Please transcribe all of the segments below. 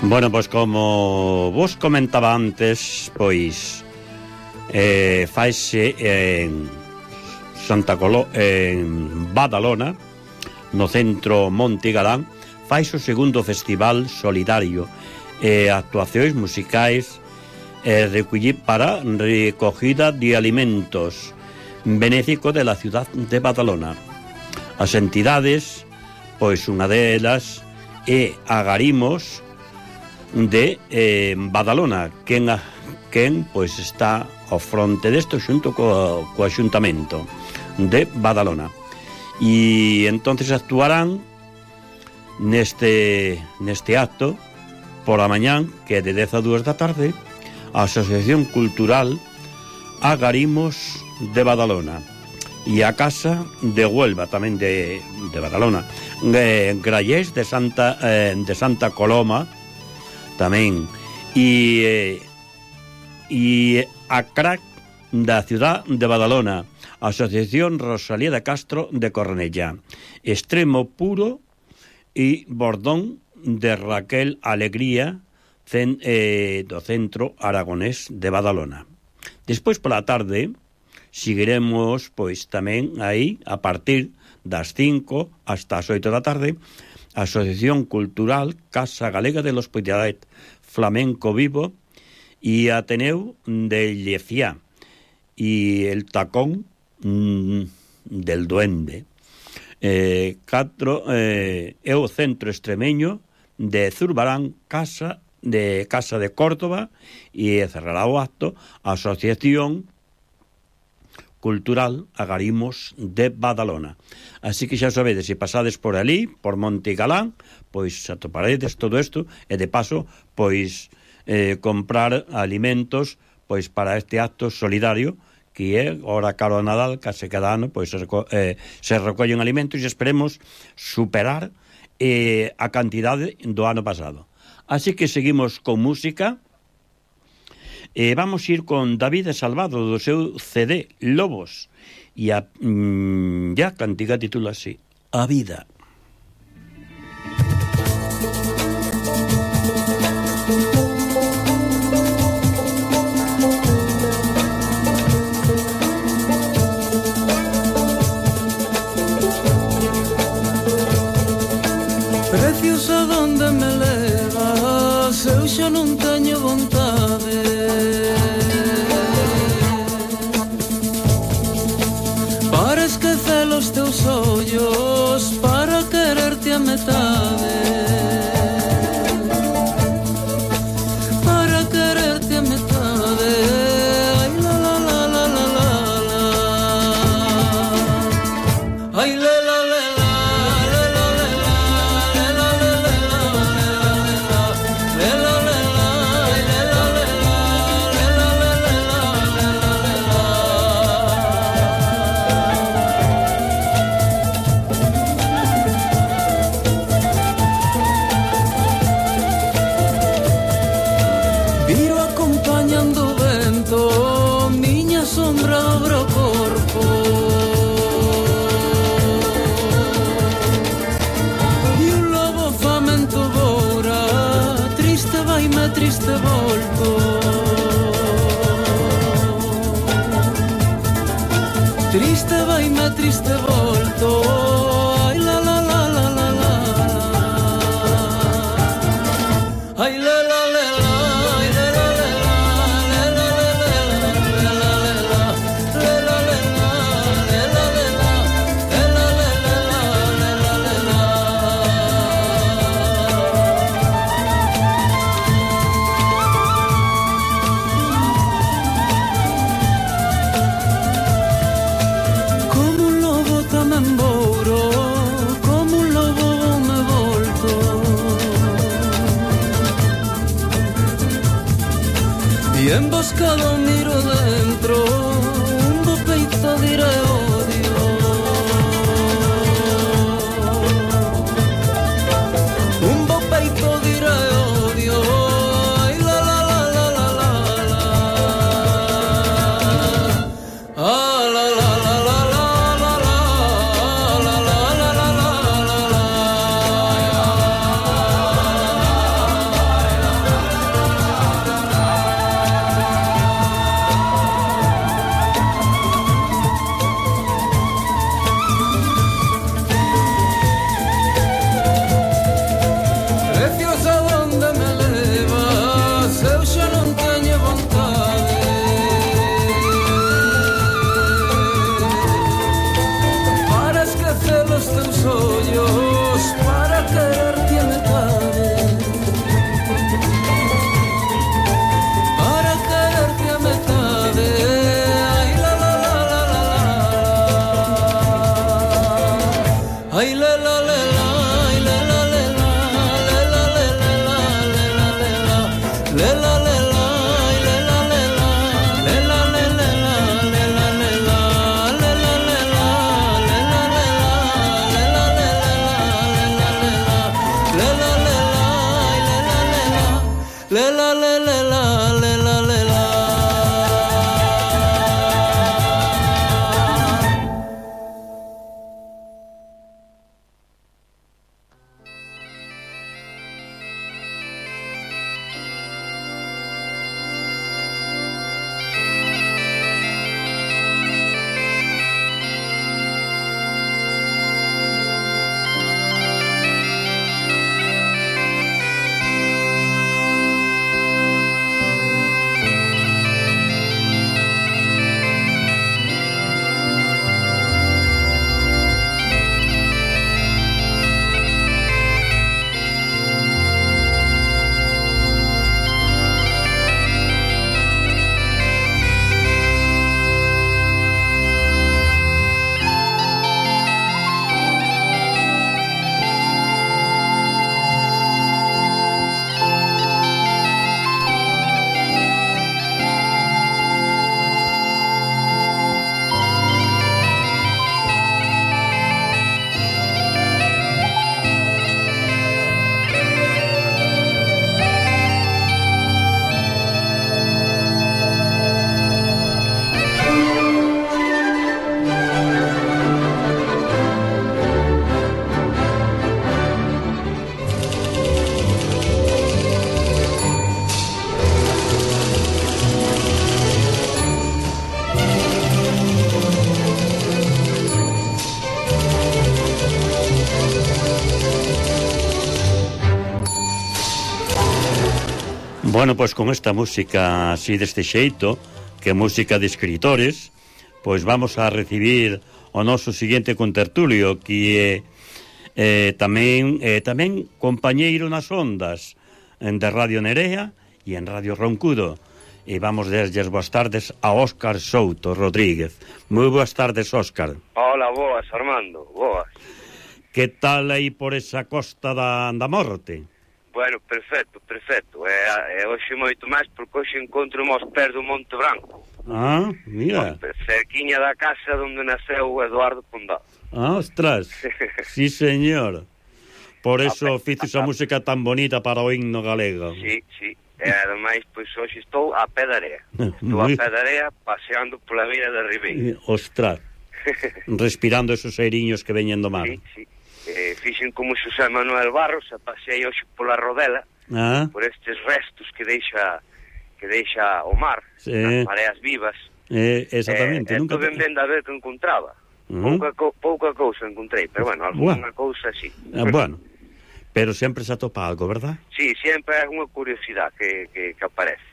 Bueno, pois como vos comentaba antes, pois faise en Badalona, no centro Monte Galán, faise o segundo festival solidario e actuacións musicais para recogida de alimentos benéfico de la ciudad de Badalona. As entidades, pois unha delas é Agarimos de Badalona, quen pois está ao fronte desto xunto co Axuntamento de Badalona, e entonces actuarán neste acto por a mañán, que é de 10 a 2 da tarde, a Asociación Cultural Agarimos de Badalona e a Casa de Huelva tamén de Badalona, Grallés de Santa Coloma tamén, e a CRAC da ciudad de Badalona, Asociación Rosalía de Castro de Cornellá, Extremo Puro e Bordón de Raquel Alegría do Centro Aragonés de Badalona. Despois pola tarde seguiremos pois tamén aí a partir das 5 hasta as 8 da tarde Asociación Cultural Casa Galega de l'Hospitalet, Flamenco Vivo e Ateneu de Llefià e el Tacón del Duende. É o Centro Extremeño de Zurbarán, Casa de Córdoba, e cerrará o acto a Asociación Cultural Agarimos de Badalona. Así que xa sabedes, se pasades por ali, por Monte Galán, pois atoparedes todo isto, e de paso, pois comprar alimentos pois para este acto solidario que é ora caro a Nadal, case cada ano pois se recollen alimentos, e esperemos superar a cantidade do ano pasado. Así que seguimos con música. Vamos a ir con David Salvado do seu CD Lobos, e a cantiga titula así, A Vida. Preciosa, donde me levas, eu xa non teño vontade. Para esquecer os teus ollos, para quererte a metade, para quererte a metade. Ai la la la la la la la, ai la la la la. Triste volto, triste vaime, triste volto. Ai la la la la la la, ai la la la la, ai la la la la, la la la la, la la la emboscado miro dentro, un bo peito diré odio. Un bo peito diré odio. Ai la la la la la la la. Ah la la la la la la la la la la la la. Preciosa donde me levas, eu xa non teño vontade. Para esquecer os teus ollos, para quererte a metade. Para quererte a metade. Ai la la la la la la. Ai la la la la. Ai la la la la. Le la la la la. Le la la la. Le la la la. Le la la la. Le la la la. Le la la la. Le la la la. Le la la la. Le la la la. Le la la la. Le la la la. Bueno, pois con esta música así deste xeito, que é música de escritores, pois vamos a recibir o noso seguinte contertulio, que é tamén compañeiro nas ondas de Radio Nerea e en Radio Roncudo. E vamos desde boas tardes a Óscar Souto Rodríguez. Moi boas tardes, Óscar. Hola, boas, Armando, boas. Que tal aí por esa costa da morte? Bueno, perfecto. E hoxe moito máis porque hoxe encontro aos pés do Monte Branco. Ah, mira. Cerquiña da casa onde naceu Eduardo Pondal. Ah, ostras. Sí, señor. Por eso fizo esa música tan bonita para o himno galego. Sí. E ademais, pois hoxe estou a pé da area. Estou a pé da area paseando pola beira da Ribeira. Ostras. Respirando esos airiños que veñen do mar. Sí. Fixen como Xosé Manuel Barros, a paseei hoxe pola Rodela, por estes restos que deixa o mar, as mareas vivas. Exactamente. Nunca ben a ver que encontraba. Pouca cousa encontrei, pero bueno, alguna cousa sí. Bueno, pero sempre se atopa algo, verdad? Sí, sempre é unha curiosidade que aparece.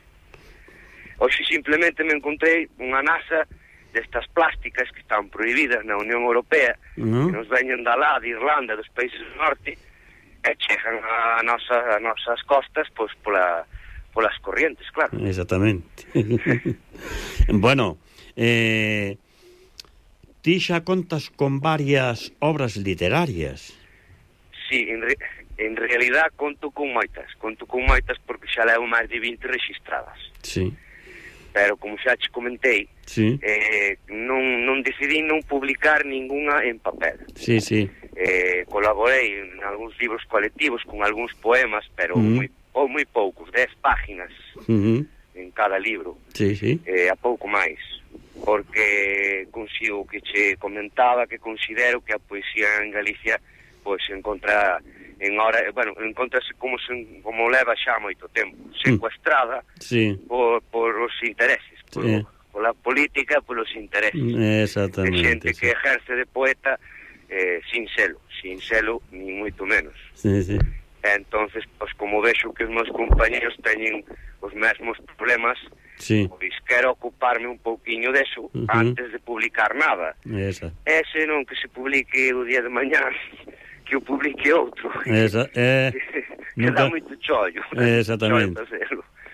Hoxe simplemente me encontrei unha nasa destas plásticas que están prohibidas na Unión Europea, que nos veñen da lá, de Irlanda, dos países do norte, e chegan a nosas costas pois polas corrientes, claro. Exactamente. Bueno, ti xa contas con varias obras literarias. Sí, en realidad conto con moitas porque xa levo máis de 20 registradas. Sí. pero como xa te comentei, sí. Non decidí non publicar ninguna en papel. Sí, sí. Colaborei en algúns libros colectivos con algúns poemas, pero moi poucos, 10 páginas en cada libro. Sí, sí. A pouco máis, porque consigo que che comentaba que considero que a poesía en Galicia pois encontrase como leva xa moito tempo, secuestrada por os intereses, pola política, polos intereses. Exactamente. De xente que ejerce de poeta sin selo, ni moito menos. Sí, sí. Entonces, pois como vexo que os meus compañeros teñen os mesmos problemas, pois quero ocuparme un pouquiño deso antes de publicar nada. Ese non que se publique o día de mañá, que o publique outro. Que dá moito chollo. Exactamente.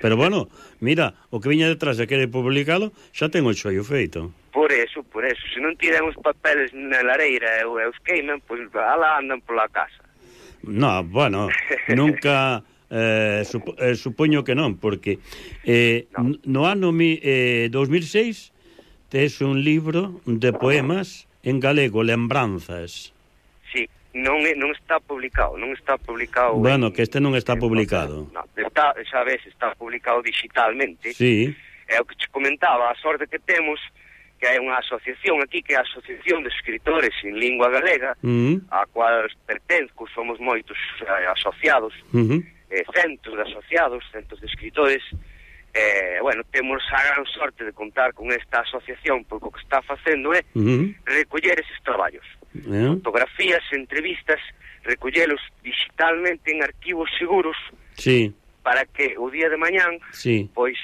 Pero bueno, mira, o que viña detrás de querer publicalo xa ten o chollo feito. Por eso, se non tiran os papeles na lareira e os queiman, pois alá andan pola casa. No, bueno, nunca supoño que non, porque no ano 2006 tes un libro de poemas en galego, Lembranzas. Sí, non está publicado. Bueno, que este non está publicado. No, xa ves, está publicado digitalmente. Sí. É o que te comentaba, a sorte que temos, que hai unha asociación aquí, que é a Asociación de Escritores en Lingua Galega, a cual pertenzo, somos moitos asociados, centos de asociados, centos de escritores. Temos a gran sorte de contar con esta asociación, porque o que está facendo é recoller eses traballos, fotografías, entrevistas, recollelos digitalmente en arquivos seguros, para que o día de mañán pois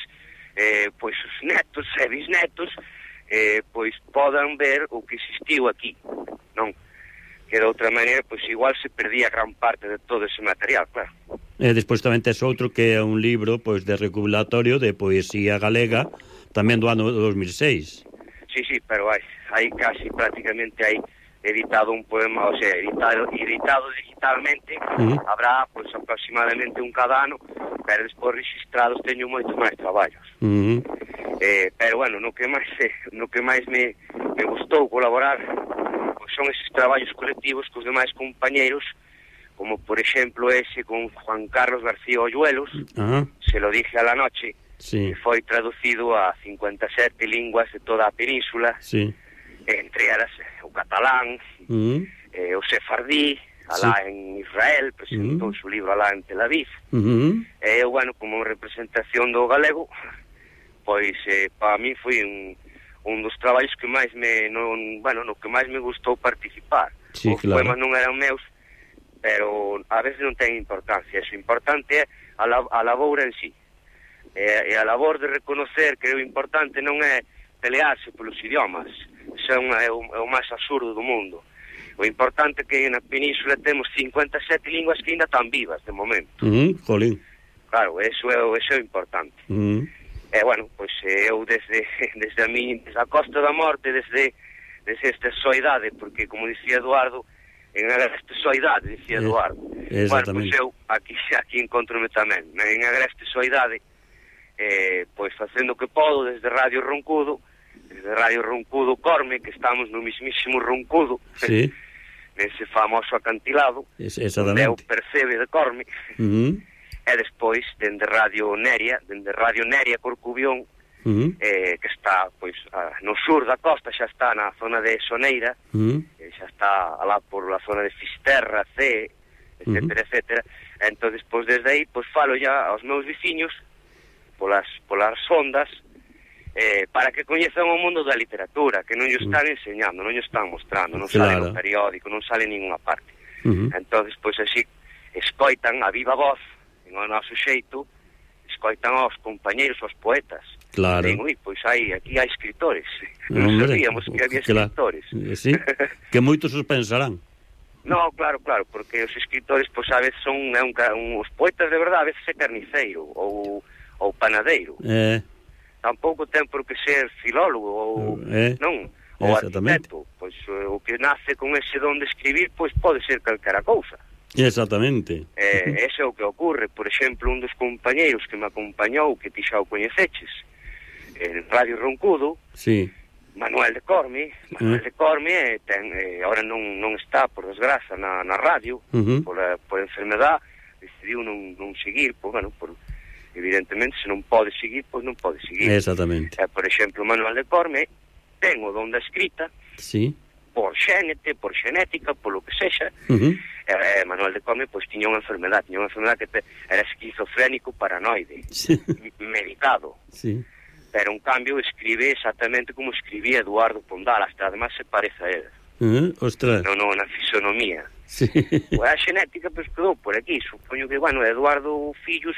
os netos e bisnetos pois podan ver o que existiu aquí, non? Que de outra maneira, pois igual se perdía gran parte de todo ese material, claro. E despois tamén tes outro que é un libro pois de recopilatorio de poesía galega, tamén do ano 2006. Sí, pero hai casi prácticamente hai editado un poema, o sea, editado digitalmente, habrá pois aproximadamente un cada ano, pero despois registrados teño moito máis traballos. Pero bueno, no que máis me gustou colaborar pois son eses traballos colectivos cos demais compañeiros, como por exemplo ese con Juan Carlos García Oyuelos, Se lo dije a la noche, que foi traducido a 57 linguas de toda a península, entre elas o catalán, o sefardí, alá en Israel, presentou o libro alá en Tel Aviv, e bueno, como representación do galego, pois para mí foi un dos traballos que máis no que máis me gustou participar. Os poemas non eran meus, pero a veces non ten importancia. O importante é a labor en sí. E a labor de reconocer que o importante non é pelearse polos idiomas. Isso é o máis absurdo do mundo. O importante é que na península temos 57 linguas que ainda están vivas de momento. Jolín. Claro, eso é o importante. E bueno, pois eu desde a Costa da Morte, desde esta soidade, porque como dicía Eduardo, en Agreste soidade, dicía Eduardo. Bueno, pois eu aquí encontrome tamén, en Agreste soidade, pois facendo o que podo desde Radio Roncudo Corme, que estamos no mismísimo Roncudo, nese famoso acantilado, onde é o percebe de Corme, e despois dende Radio Neria Corcubión, que está pois no sur da costa, xa está na zona de Soneira, xa está alá por la zona de Fisterra, C, etcétera, etcétera. Entón, despois desde aí, pois falo ya aos meus veciños polas ondas, para que coñezan o mundo da literatura, que non lle están enseñando, non lle están mostrando, non sale no periódico, non sale en ninguna parte. Entón, pois así, escoitan a viva voz, en o noso xeito, escoitan aos compañeiros, aos poetas. Claro. Digo, pois aquí hai escritores. Non sabíamos que había escritores. Sí, que moitos os pensarán. No, claro, porque os escritores, pois a veces son os poetas de verdade, a veces é carniceiro ou panadeiro. Tampouco ten por que ser filólogo ou non, ou arquitecto. Pois o que nace con ese don de escribir, pois pode ser calquera cousa. Exactamente. Ese é o que ocorre. Por exemplo, un dos compañeiros que me acompañou, que ti xa o coñeceches, Radio Roncudo, sí. Manuel de Corme ahora non está, por desgraza, na radio, por enfermedad, decidiu non seguir, evidentemente, se non pode seguir, pois non pode seguir. Exactamente. Por exemplo, Manuel de Corme ten o don da escrita, sí, por xenética, por lo que sexa. Manuel de Corme pois tiña unha enfermedad que era esquizofrénico paranoide, sí, medicado, sí. Pero en cambio escribe exactamente como escribía Eduardo Pondal, hasta además se parece a él. Ostras. Non, na fisonomía. Sí. Pois a xenética pois quedou por aquí, supoño que, Eduardo fillos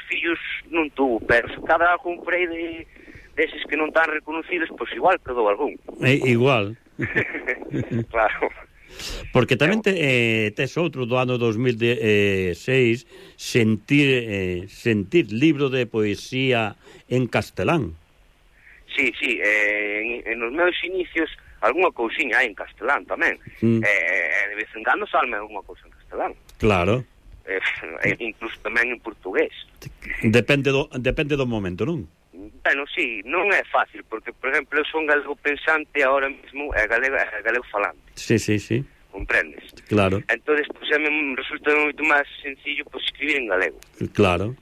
non tuvo, pero se cada algún por aí deses que non están reconocidos, pois igual quedou algún. Igual. Claro. Porque tamén tes outro do ano 2006, sentir libro de poesía en castelán. Sí, en os meus inicios algunha cousiña hai en castelán tamén. De vez en cando salme algunha cousa en castelán. Claro. Incluso tamén en portugués. Depende do momento, non? Bueno, sí, non é fácil, porque, por exemplo, eu son galego pensante, ahora mesmo é galego falante. Sí. Comprendes? Claro. Entonces, pues, me resulta moito máis sencillo, pues, escribir en galego. Claro.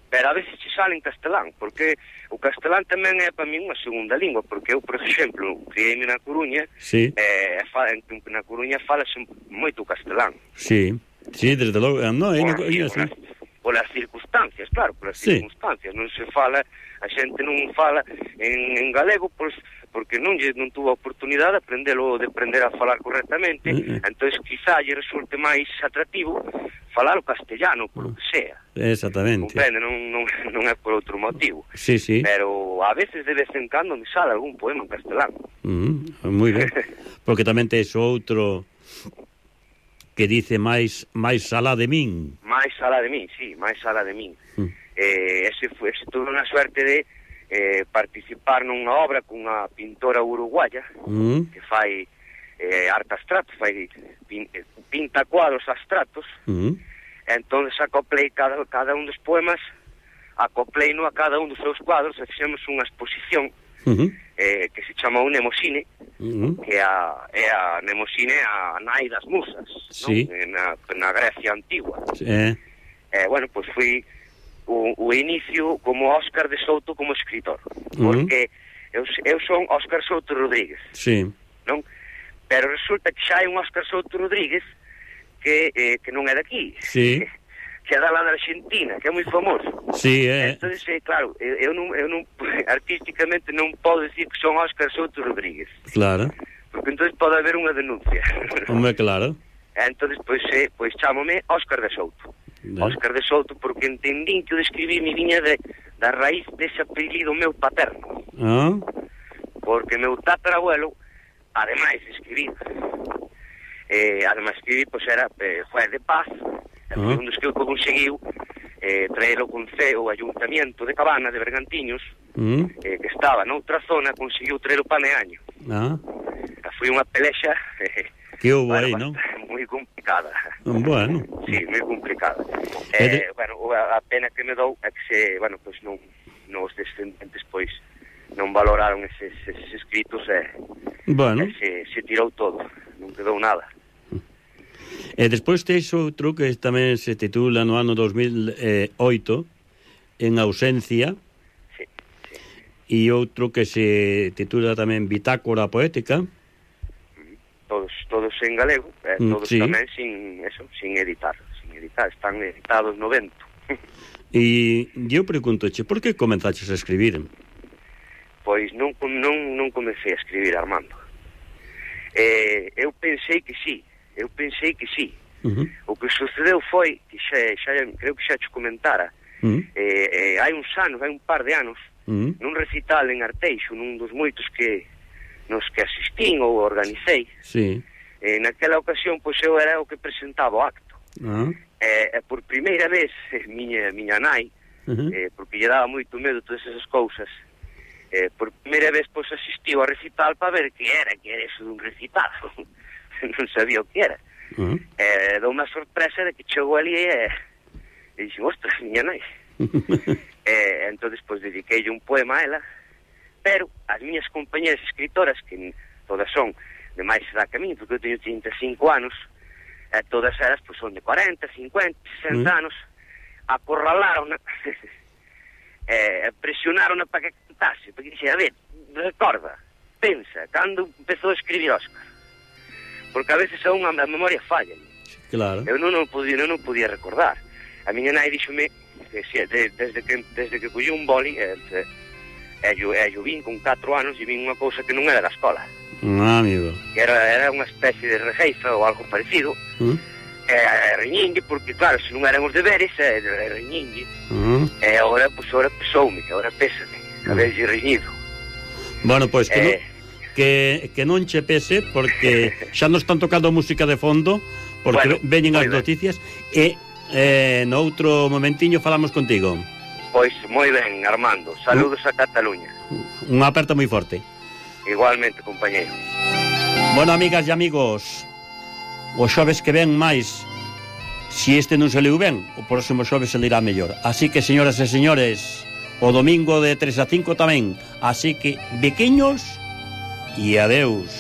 Pero a veces se sale en castelán, porque o castelán tamén é para mí unha segunda lingua, porque eu, por exemplo, criei-me na Coruña, sí. Na Coruña falase moito castelán. Sí, desde logo, Polas circunstancias, claro, circunstancias, non se fala, a xente non fala en galego, pois, porque non tuvo a oportunidade de aprender a falar correctamente, entonces quizá lle resulte máis atractivo falar o castellano, por lo que sea. Exactamente. Comprende, non é por outro motivo. Sí. Pero a veces, de vez en cando, me sale algún poema en castelán. Moi ben. Porque tamén tes outro que dice máis sala de min. Máis sala de min, sí, máis sala de min. Ese tuve unha suerte de participar nunha obra cunha pintora uruguaya que fai arte abstracto, pinta cuadros abstractos. Entonces acoplei cada un dos poemas, acoplei a cada un dos seus cuadros e fixemos unha exposición que se chama un Nemosine, que é a Nemosine a nai das musas, sí. na Grecia antigua. Bueno, pois foi o inicio como Óscar de Souto como escritor, porque eu son Óscar Souto Rodríguez, sí. Non? Pero resulta que xa hai un Óscar Souto Rodríguez que non é daqui, sí. Que é da lá da Argentina, que é moi famoso. Sí, Entonces, claro, eu non artísticamente non podo decir que son Óscar Souto Rodríguez. Claro. Porque entonces pode haber unha denuncia. Hombre, claro. Entonces, pois chámome Óscar de Souto. Óscar de Souto porque entendín que o de escribir me viña da raíz dese apelido meu paterno. Porque meu tatarabuelo, ademais de escribir, pois era juez de paz, un dos que conseguiu traer o Ayuntamiento de Cabana de Bergantiños, que estaba noutra zona, conseguiu traer o Paneaño. Foi unha pelexa que houve aí, non? Moi complicada. Bueno. Sí, moi complicada. A pena que me dou é que os descendentes pois non valoraron eses escritos se tirou todo, non quedou nada. E despois tes outro que tamén se titula no ano 2008 En ausencia, sí. E outro que se titula tamén Bitácora poética. Todos en galego, todos sí. Tamén sin editar, están editados no vento. E eu preguntoche, por que comenzaches a escribir? Pois non comecei a escribir, Armando. Eu pensei que sí. O que sucedeu foi que creo que xa te comentara, hai uns anos, hai un par de anos, nun recital en Arteixo, nun dos moitos nos que asistín ou organicei, sí. Naquela ocasión, pois eu era o que presentaba o acto. Por primeira vez, miña nai, porque lle daba moito medo todas esas cousas, por primeira vez, pois asistiu ao recital para ver que era eso dun recital. Non sabía o que era. Dou unha sorpresa de que chegou ali e dixen, ostras, miña nai. Entón, pois dediqueille un poema a ela, pero as miñas compañeras escritoras, que todas son de máis edad que a mí, porque eu teño 35 anos, todas elas pues, son de 40, 50, 60 anos, acorralaron presionaron para que cantase, porque dixe, a ver, recorda, pensa, cando empezou a escribir Óscar, porque a veces a memoria falla. Claro. Eu non podía recordar. A miña nai díxome que desde que collí un boli eu vin con 4 anos e vin unha cousa que non era da escola, amigo, que era unha especie de rejeifa ou algo parecido, riñingue, porque claro, se non eran os deberes, riñingue, e agora pesoume, agora pésame haberlle riñido. Bueno, pois que non che pese, porque xa nos están tocando música de fondo, porque veñen as noticias, e no outro momentiño falamos contigo. Pois moi ben, Armando, saludos a Cataluña. Unha aperta moi forte. Igualmente, compañeiro. Bueno, amigas e amigos, os xoves que ven máis, si este non saliu ben, o próximo xoves salirá mellor. Así que, señoras e señores, o domingo de 3 a 5 tamén. Así que, bequiños e adeus.